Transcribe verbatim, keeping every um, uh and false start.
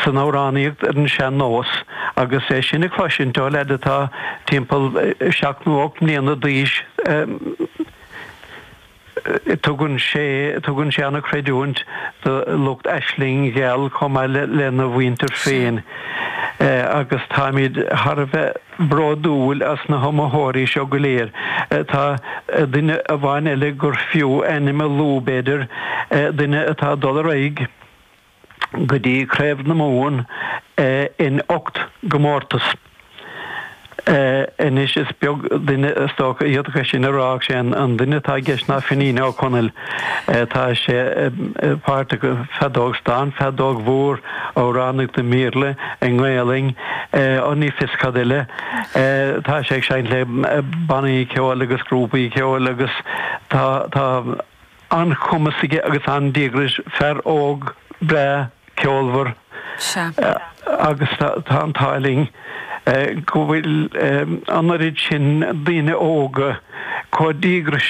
san amhránaíocht ar an sean-nós agus é sin a chloisint ó leaid atá timpeall seacht nó ocht mbliana d'aois tugann sé tugann sé an-chreidiúint do lucht Aisling Gheal chomh maith lena mhuintir féin agus táimid thar a bheith bródúil as na hiomaitheoirí seo go léir. Tá duine amháin eile gur fiú ainm a lua b'fhéidir, duine atá ag dul ar aghaidh go dtí Craobh na Mumhan in ocht gcomórtas. Anois is beag duine is dócha a d'fhéadfadh é sin a rá ach sé an duine atá i gceist ná Finín Ó Conaill. Tá sé páirteach i bhfeadóg stáin, feadóg mhór, amhránaíocht i mBéarla, i nGaelainn, ó ní fios cad eile. Tá sé ag seinnt le bannaí ceoil agus grúpaí ceoil agus tá tá an-chumas aige agus an-díograis, fear óg breá ceolmhar agus tá an t-ádh linn go bhfuil an oiread sin daoine óga chomh díograiseach.